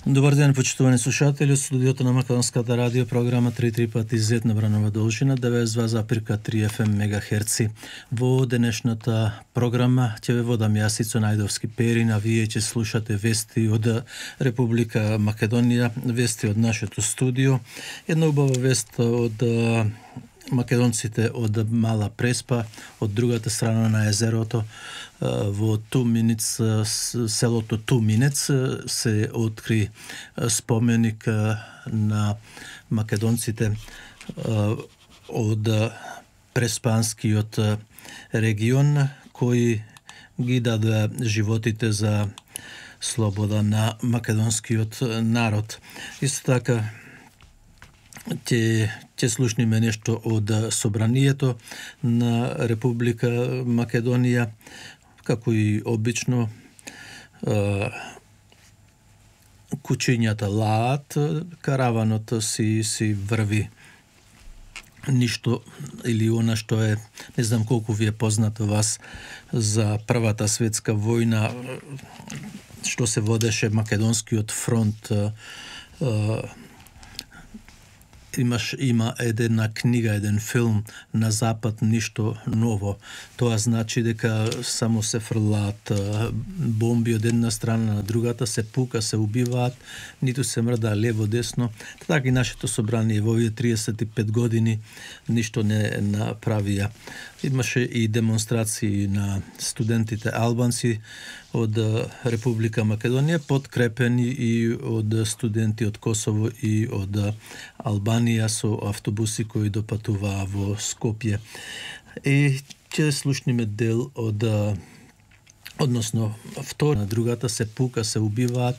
Добар ден, почитувани слушатели, од студиото на Македонската радио, програма 3 пати Z на Бранова должина, 92,3 FM мегахерци. Во денешната програма ќе ве водам јас Ицо Најдовски Перин, а вие ќе слушате вести од Република Македонија, вести од нашето студио. Една убава вест од македонците од Мала Преспа, од другата страна на езерото, во Туминец, селото Туминец, се откри споменик на македонците од Преспанскиот регион, кои ги дадоа животите за слобода на македонскиот народ. Исто така, ќе слушниме нешто од собранието на Република Македонија, како и обично кучињата лаат, караванот си врви. Ништо или она што е, не знам колку ви е познато вас за Првата светска војна, што се водеше Македонскиот фронт. Има една книга, еден филм на Запад, ништо ново. Тоа значи дека само се фрлаат бомби од една страна на другата, се пука, се убиваат, ниту се мрда лево десно. Така и нашето собрание во овие 35 години ништо не направија. Имаше и демонстрации на студентите албанци од Република Македонија, подкрепени и од студенти од Косово и од Албанија со автобуси кои допатуваа во Скопје. И ќе слушниме дел од односно втора на другата, се пука, се убиваат,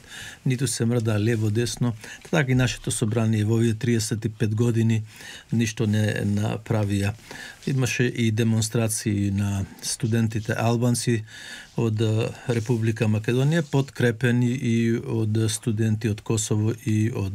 ниту се мрда лево десно. Така и нашето собрание во овие 35 години ништо не направија. Имаше и демонстрации на студентите албанци од Република Македонија, подкрепени и од студенти од Косово и од